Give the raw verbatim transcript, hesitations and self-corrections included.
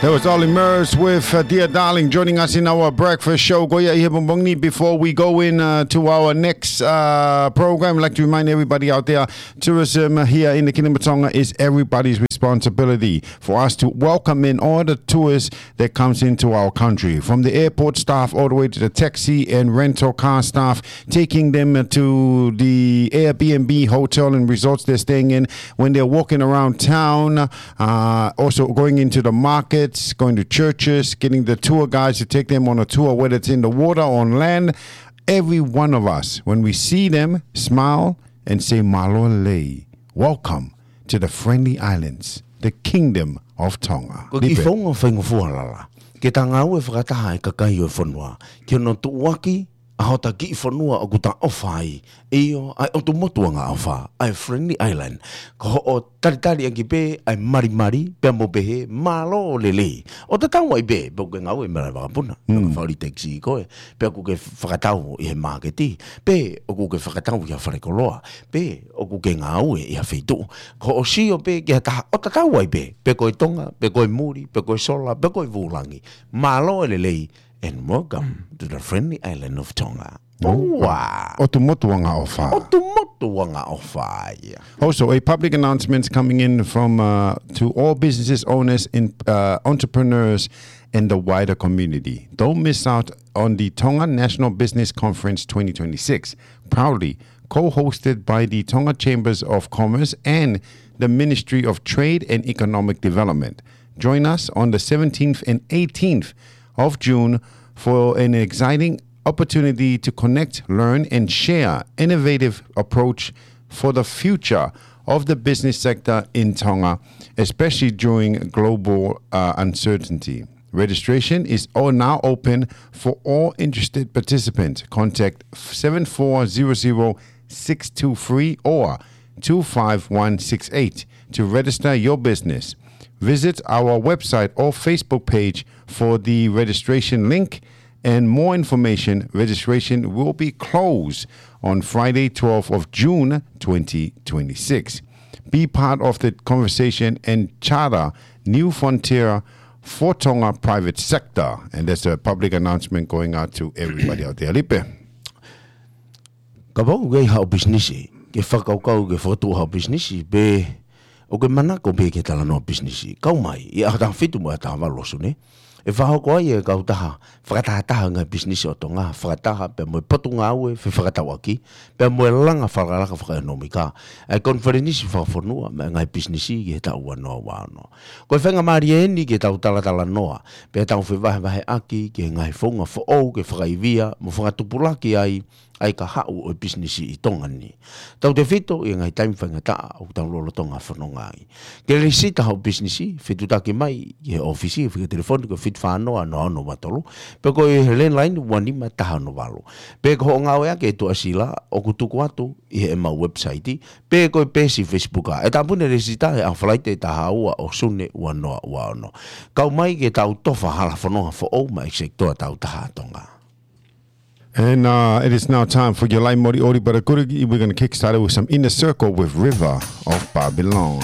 That was Ollie Murs with uh, Dear Darling joining us in our breakfast show. Ko ia ʻi he pongipongi ni, before we go in uh, to our next uh, program, I'd like to remind everybody out there, tourism here in the Kingdom of Tonga is everybody's responsibility for us to welcome in all the tourists that comes into our country, from the airport staff all the way to the taxi and rental car staff, taking them to the Airbnb hotel and resorts they're staying in. When they're walking around town, uh, also going into the markets, going to churches, getting the tour guides to take them on a tour, whether it's in the water or on land. Every one of us, when we see them, smile and say, "Mālō e lelei. Welcome to the Friendly Islands, the Kingdom of Tonga." Ko e kiʻi founga faingofua lala ke ta ngāue fakataha e kakai ʻo e fonua ki hono tuʻuaki ʻa hota kiʻi fonua ʻoku ta ʻofa ai, ʻio, ʻa e ʻotu motu angaʻofa, ʻa e Friendly Island. Ko hoʻo talitali ʻaki pē ʻa e malimali pea mo pehē, "Mālō e lelei." ʻO tatau ai pē pe ʻoku ke ngāue ʻi he malaʻe vakapuna, pe ʻoku ke fakaʻuli taxi koe, pe ʻoku ke fakatau ʻi he māketi, pe ʻoku ke fakatau ʻi ha falekoloa, pe ʻoku ke ngāue ʻi ha feituʻu. Ko hoʻo sio pē ki ha taha, ʻo tatau ai pē pe ko e Tonga, pe ko e muli, pe ko e sola, pe ko e vūlangi. Mālō e lelei, and welcome to the Friendly Island of Tonga. ʻOtu motu angaʻofa. ʻOtu motu angaʻofa ia. Also, a public announcement coming in from uh, to all businesses owners and uh, entrepreneurs and the wider community. Don't miss out on the Tonga National Business Conference twenty twenty-six, proudly co-hosted by the Tonga Chambers of Commerce and the Ministry of Trade and Economic Development. Join us on the seventeenth and eighteenth of June for an exciting opportunity to connect, learn, and share innovative approach for the future of the business sector in Tonga, especially during global uh, uncertainty. Registration is all now open for all interested participants. Contact seven four zero zero six two three or two five one six eight to register your business. Visit our website or Facebook page for the registration link and more information. Registration will be closed on Friday, twelfth of June, twenty twenty-six. Be part of the conversation and charter new frontier for Tonga private sector. And that's a public announcement going out to everybody out there. Lipe. Kapau ʻoku ke ʻi haʻo pisinisi, ke fakakaukau ke fakatuʻu haʻo pisinisi, pe ʻoku ke manako pē ke talanoa pisinisi, kau mai ʻi he ʻaho taha fitu mo e ʻaho taha valu ʻo Sune. ʻE fakahoko ai e kautaha fakatahataha ngaahi pisinisi ʻo Tonga, fakataha pea mo e Potungāue Fefakatauʻaki pea mo e Langa Fakalakalaka Fakaʻekonōmika, ʻa e konifelenisi fakafonua maʻa e ngaahi pisinisi ki he taʻu ua noa ua ono. Ko e faingamālie eni ke tau talatalanoa pea tau fevahevaheʻaki ki he ngaahi founga foʻou ke fakaivia mo fakatupulaki ai ʻa e kahaʻu ʻo e pisinisi ʻi Tonga ni, tautefito ʻi he ngaahi taimi faingataʻa ʻoku tau lolotonga fononga ai. Ke lēsisita haʻo pisinisi, fetuʻutaki mai ki he ʻōfisi, fika telefoni ko e fitu fā noa noa ono ua tolu, pe ko e landline ua nima taha ono valu. Pe ko hoʻo ngāueʻaki e tuʻasila ʻoku tuku atu ʻi heʻemau website, pe ko e peesi Facebook ʻa e Tāpuni Lēsisita he ʻaho Falaite taha ua ʻo Sune ua noa ua ono. Kau mai ke tau tofa hala fononga foʻou maʻa e Executive Toa Tautaha ʻa Tonga. And uh, it is now time for your Laʻi Moliʻoli, but a good, we're going to kickstart it with some Inner Circle with River of Babylon.